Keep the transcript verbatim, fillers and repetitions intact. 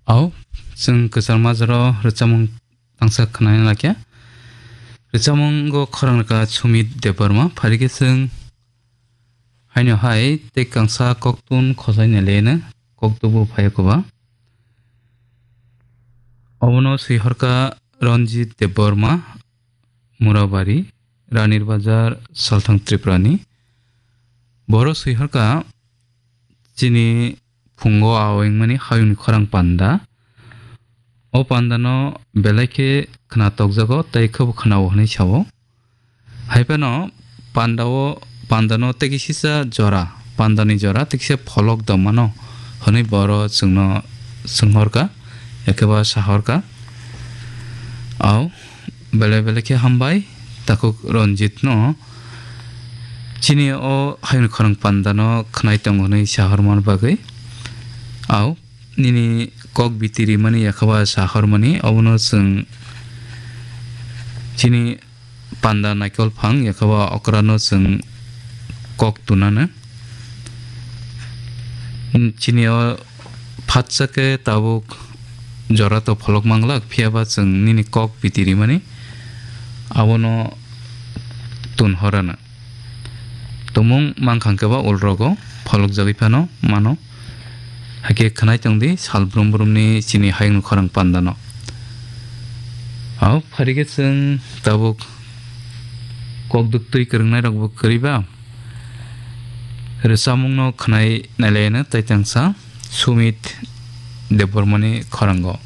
Au, chwng kwchar majaro rwchapmung tangsa khwnani lakya. Rwchapmungo khorang rwkha Sumit Debbarma, phaikhe chwng haino hai tei kangsa koktun khosai naileno koktubu phaiya koba. Obono swihorkha Ranjit Debbarma, Murabari, Ranir Bazar, Salthang Tripurani. Boro swihorkha chini phungo awingmani hayungni khorang panda. O pandano belai khe khna tokjago tei khebo khnao hwnwi sao. Hai phano pandao, pandano tei kisisa jora, pandani jora tei kisa pholok dongmano hwnwi boro chwngno swnghorkha, ekheba sahorkha. Au, belai belai khe hambai, takhuk Ranjitno chini o hayung khorang pandano khnai tongo hwnwi sahormani bagwi. Au, nini kok biti rimani ekheba sahormani, obono chwng chini panda naikol phang ekheba okrano chwng kok tunano. Chini o phatsa khe tabuk jora to pholok manglak, phiyaba chwng nini kok biti rimani abono tun horana. Tumung mankha khe ba ulrogo pholok jagwi phano mano. Hakhe khwnai tongdi sal brum brumni chini hayung khorang pandano. Au pharikhe chwng tabuk kok duktwi kwrwngnairokbo kwrwiba rwchapmungno khwnai nailaino tei tangsa Sumit Debbarmani khorango.